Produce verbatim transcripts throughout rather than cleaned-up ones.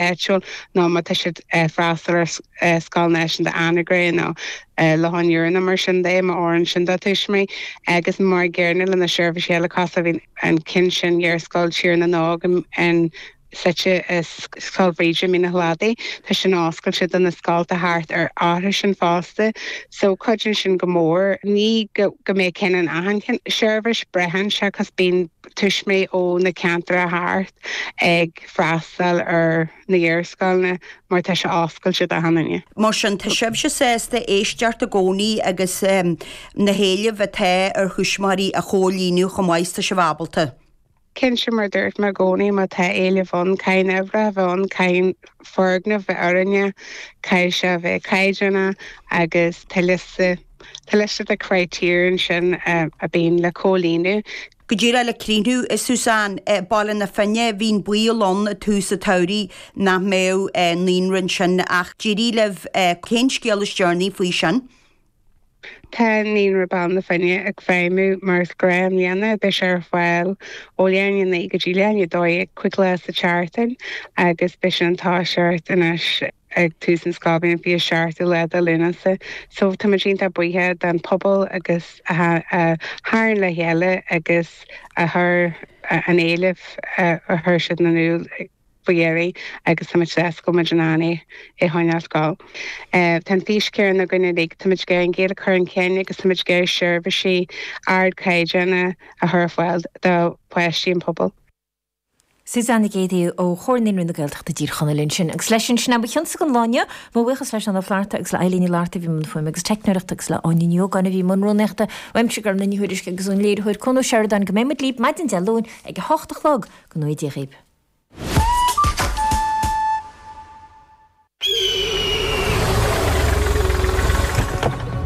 áitiúil nó má tá siad freastal ar Scoil Náisiúnta Anagaire nó Loch an Iúir nó mar sin de má oireann sin dá tuismitheoirí agus mar an gcéanna le na seirbhísí eile cosúil bhí an ceann sin Ghaelscoil Tír na nÓg an suite i Scoil Bhríde Mín an Chladaigh tá sin oscailte do na scolta thart ar orthu sin fosta so cuidíonn sin go mór ní go go mbeidh cinn an achan seirbhís braitheann sé cos bíonn tuismitheoirí ó na ceantair thart ag freastal ar na hiarscoileanna mar tá sé oscailte d'achan duine. Mar sin tá sibhse sásta éisteacht i gcónaí agus na héilimh atá ar thuismitheoirí a chomhlíonadh chomh maith is tá sibh ábalta. Cinnte mar dúirt mé i gcónaí má tá éileamh ann caithfidh na hoibrithe bheith ann caithfidh foirgneamh bheith oiriúnach caithfidh sé bheith caighdeánach agus tá liosta tá liosta de critéir ansin a bíonn le comhlíonadh. Go díreach le críochnú, a Suzanne, Baile na Finne, bhí an baol ann i tús an tsamhraidh nach mbeadh naíonra ansin ach d'éirigh libh. Cén scéal is deireanaí faoi sin? Tá Naíonra Baile na Finne ag feidhmiú mar is gnách i mbliana. Beidh sé ar fáil ó leath i ndiaidh a naoi go dtí leath i ndiaidh a dó dhéag cúig lá sa tseachtain agus beidh sin ag toiseacht anois ag tús an scoilbhliain fiche seachtú lá de Lúnasa. So tá muid iontach buíoch don pobal agus a tharraing le chéile agus a chuir an éileamh a chuir siad in iúl faoi dheireadh agus tá muid sásta go muid in ann é a choinneáil ag gabháil. Tá an fís céanna againn uilig, tá muid ag iarraidh an Ghaeilge a chur chun cinn agus tá muid ag iarraidh seirbhísí ardchaighdeáin a chur ar fáil do pháistí an pobail. Suzanne Nic Géadaigh ó Chomhar Naíonraí na Gaeltachta i dTír Chonaill ansin. Agus leis sin, sin é mo chionsa don lá inniu. Mo bhuíochas le Seán Ó Flatharta agus le Eileen Ní Fhlatharta a bhí i mbun fuaime agus teicneoireachta agus le Áine Ní Ógáin a bhí i mbun rúnaíochta. Uaimse Gormfhlaith Ní Thuairisg agus ón léiritheoir Cuan Ó Seireadáin go mbeidh muid libh maidin Dé Luain ag a hocht a chlog. Go ngnóthaí Dia dhaoibh.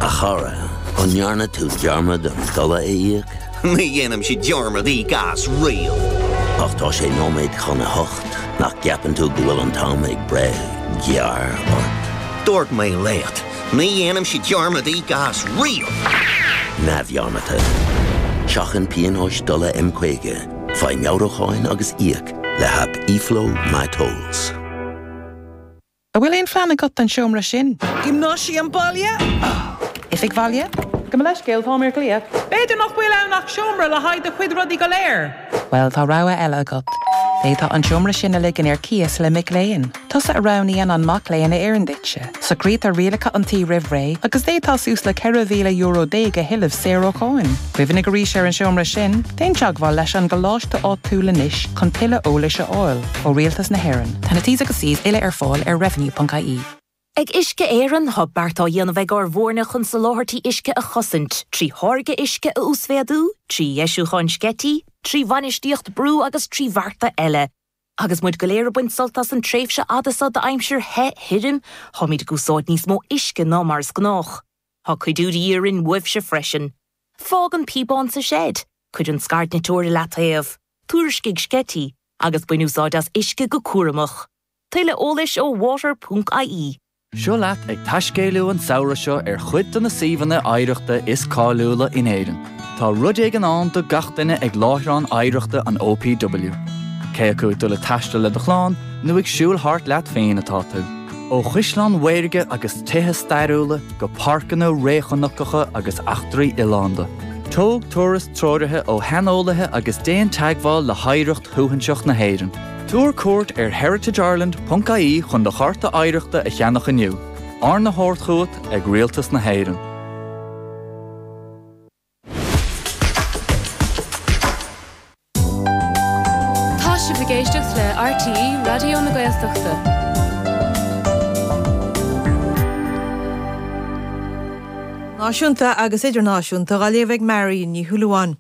A chara, an ndearna tú dearmad an dola a íoc? Ní dhéanaimse dearmad íoc as riamh. Ach tá sé nóiméad chun a hocht, nach gceapann tú go bhfuil an t-am ag breith gearr ort? Dúirt mé leat, ní dhéanaimse dearmad íoc as riamh. Neamhdhearmadta. Seachain pionóis dola M caoga, faigh meabhrúcháin agus íoc le haip eFlow MyTolls. An bhfuil aon phlean agat don seomra sin? Giomnáisiam baile? Oifig bhaile? Gabh mo leithscéal, táim ar glaoch. B'fhéidir nach bhfuil ann ach seomra le haghaidh do chuid rudaí go léir. Bhuel, tá rogha eile agat. D'fhéadfá an seomra sin a ligean ar cíos le mic léinn. Tusa a roghnaíonn an mac léinn a oireann duitse. Socraítear rialacha an tí roimh ré agus d'fhéadfá suas le ceithre mhíle euro déag a thuilleamh saor ó cháin. Cuimhnigh arís ar an seomra sin, déan teagmháil leis an gcoláiste áitiúil anois chun tuilleadh eolais a fháil ó Rialtas na hÉireann. Tá na T's agus C's uile ar fáil ar revenue.ie. Ag Uisce Éireann, tá beart á dhéanamh ag ár bhfoirne chun soláthairtí uisce a chosaint, trí tháirgeadh uisce a uasmhéadú, trí dheisiúcháin sceití, trí bhainistíocht brú agus trí bhearta eile. Agus muid go léir ag baint sult as an tréimhse fhada seo d'aimsir the thirim, táimid ag úsáid níos mó uisce ná mar is gnách. Tá cuidiú de dhíth orainn uaibhse freisin. Fág an píobán sa seid, cuir an scairdniteoir i leataobh, tuairiscigh sceití, agus bain úsáid as uisce go cúramach. Tuilleadh eolais ó water ponc ie. Seo leat ag taiscéalú an samhradh seo ar chuid de na suíomhanna oidhreachta is cáiliúla in Éirinn. Tá rud éigin ann do gach duine ag láithreán oidhreachta an OPW. Cé acu ag dul ag taisteal le do chlann nó ag siúl thart leat féin atá tú. Ó chaisleáin mhaorga agus tithe stairiúla go páirceanna réchnocacha agus eachtraí oileánda. Tóg turas treoraithe ó shaineolaithe agus déan teagmháil le hoidhreacht shuaithinseach na hÉireann. Tabhair cuairt ar heritageireland ponc ie chun do chárta oidhreachta a cheannach inniu, arna thabhairt chugat ag Rialtas na hÉireann. Tá sibh ag éisteacht le RTÉ Raidió na Gaeltachta. Náisiúnta agus idirnáisiúnta á léamh ag Marion Ní Shúilleabháin.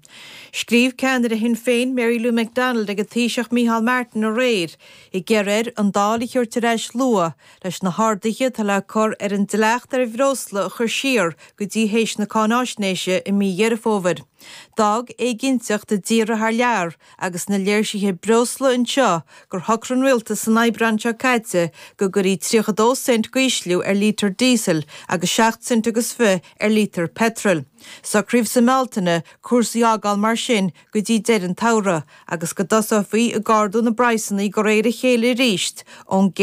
Scríobh ceannaire Shinn Féin Mary Lou McDonald chuig an Taoiseach Micheál Martin aréir ag iarraidh air an Dáil a thabhairt ar ais luath leis na harduithe atá le cur ar an dleacht ar bhreosla a chur siar go dtí théis na cáináisnéise i mí Dheireadh Fómhair. D'fhág éiginnteacht i dtíortha thar lear agus na léirsithe breosla anseo gur shocraigh an rialtas san Aibreán seo caite go gcuirfí tríocha dó cent d'ísliú ar lítear díosail agus seacht cent agus fiche ar lítear peitril. Socraíodh sa mBealtaine cúrsaí a fhágáil mar sin go dtí deireadh an tsamhraidh agus go dtosófaí ag ardú na bpraghsanna de réir a chéile arís ón gcéad